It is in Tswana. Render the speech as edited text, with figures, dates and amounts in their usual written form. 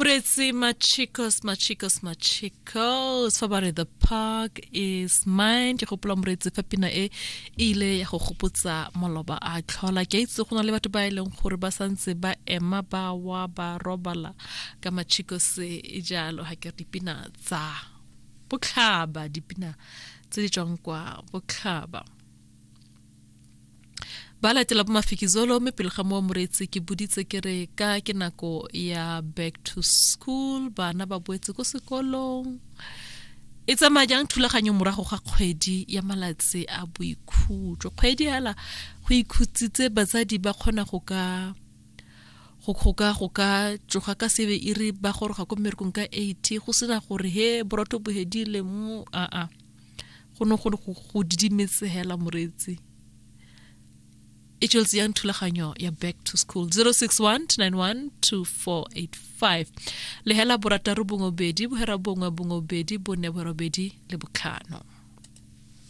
Moreetsi Machicos, Machicos, Machicos, fa ba re the park is mine. Ke gopola moreetsi fa pina e e ile ya go gopotsa maloba a tlhola. Ke a itse go na le batho ba e leng gore ba santse ba ema ba wa ba robala ka Machicos e jalo ha ke re dipina tsa botlhaba, dipina tse di tswang kwa botlhaba. Ba latela bo Mafikizolo mme pele ga moo moreetsi ke boditse ke re ka ke nako ya back to school bana ba boetse ko sekolong e tsamaya jang thulaganyo morago ga kgwedi ya malatsi a boikhutso kgwedi hela go ikhutsitse batsadi ba kgona go ka go go ka go ka tsoga ka sebe e re ba goroga ko mmerekong ka 8 go sena gore he borotho bo hedile mo a a go ne go go didimetse hela moreetsi e tsweletse yang thulaganyo ya back to school 061 291 2485 lehela borataro bongwe bedi bohera bongwe bongwe bedi bone borobedi le botlhano.